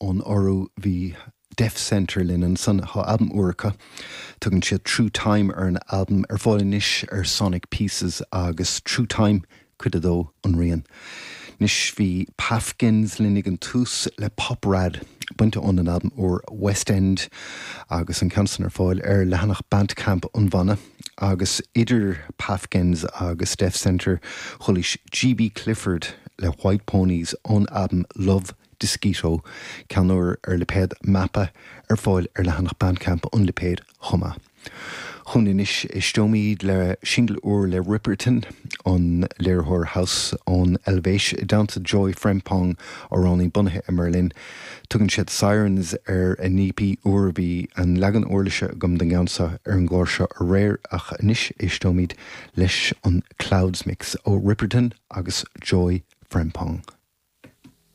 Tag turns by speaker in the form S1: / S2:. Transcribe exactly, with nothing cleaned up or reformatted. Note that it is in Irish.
S1: Ón Iorua bhí Deaf Centre linn ansan tá albam úr acu. Tugann siad True Time ar an albam ar fáil anois ar Sonic Pieces agus True Time cuid a dó an rian. Anois bhí Pafkins linn ag an tús le Poprad bainte ón an albam úr West End agus an ceann san ar fáil ar leathanach Bandcamp an bhanna agus idir Pafkins agus Deaf Centre chualaís GB Clifford le White Ponies ón albam Love Disquito ceann úr ar lipéad Mappa ar fáil ar leathanach Bandcamp an lipéid chomh maith. Chun anois éisteoimid le single úr le Ripperton an léiritheoir house ón Eilvéis i dteannta Joy Frempong amhránaí bunaithe i mBerlin. Tugann siad Sirens ar an EP úr bhí an leagan uirlise agam den gceann seo ar an gclár seo aréir ach anois éisteoimid leis an Clouds Mix ó Ripperton agus Joy Frempong.